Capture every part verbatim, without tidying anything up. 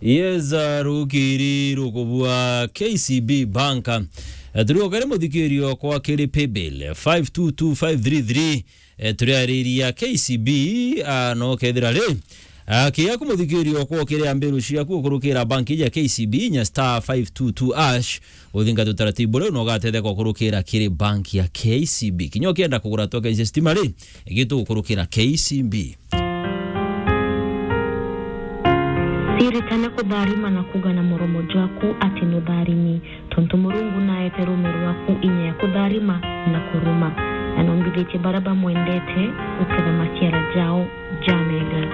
Yes, ah, rukiri rukubua K C B Bank. Eh, turi okere muthikirio kwa kiri paybill five two two five three three. Eh, turiariria K C B, ah, no kethira ri, ah, kiaku muthikirio kwa kiri ambiru ciaku ukurukira bank ya K C B, nya star five two two hash, uthinga tutaratibu riu, na ugatetheka ukurukira kiri bank ya K C B. Kinya ukienda kugura token cia stima ri, gitu ukurukira K C B. Siritane kutharima na kuga na muromo jwaku ati nutharimi, tontu Murungu naete rume rwaku inya ya kutharima na kuruma, na nombithitie baria bamwendete guketha maciara jao jamega.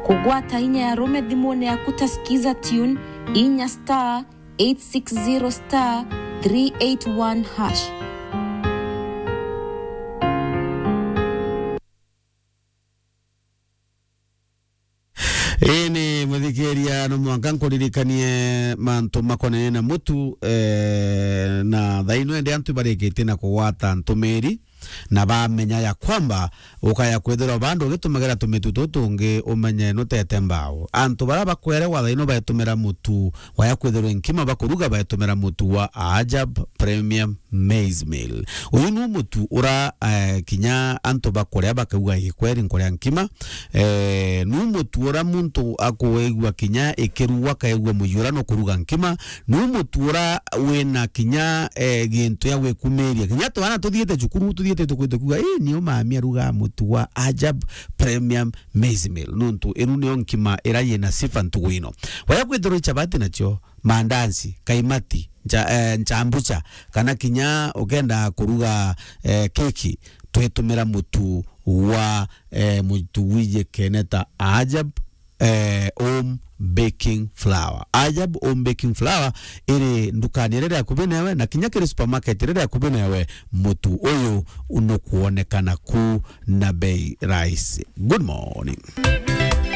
Kugwata inya ya rume thimune yaku ta Skiza Tune, inya star eight six zero star three eight one hash. Ii ni muthikiria, no mwanka nkuririkanie mantu makonene na mutu, eh, na thaino ende antu barikitie na kugwata ntumiri, na bamenya ya kwamba ukaya kwithirwa bandu ugitumagira tumitu tutungi umenye nutete mbao. Antu baria bakwere wathaino baetumira mutu waya kwithirwa nkima bakuruga, baetumira mutu wa Ajab Premium Maize Meal. Uyu nu mutu ura, eh, kinya antu bakuria bakauga, "Gikweri nkuria nkima." Eh, nu mutu ura muntu akuigua kinya ikirugwa akaigua muyura no kuruga nkima. Nu mutu ura wina kinya, eh, gintu ya gwikumiria. Kinya twana tuthiite cukuru, tuthiite tukwite kuuga, "Ii, niu mami aruga mutu wa Ajab Premium Maize Meal." Nuntu inu niyo nkima ira yina sifa ntugu ino. Waya kwithirwa ichabati nacio, mandazi, kaimati, ncha-, eh, nchambucha, kana kinya ukenda kuruga, eh, keki, twitumira mutu wa, eh, mutu wiji keneta Ajab, eh, Home Baking Flour. Ajab Home Baking Flour iri ndukani iria iri akubi newe, na kinya kiri supermarket iria iri akubi newe, mutu uyu nukwonekana ku na bei rahisi. Good morning.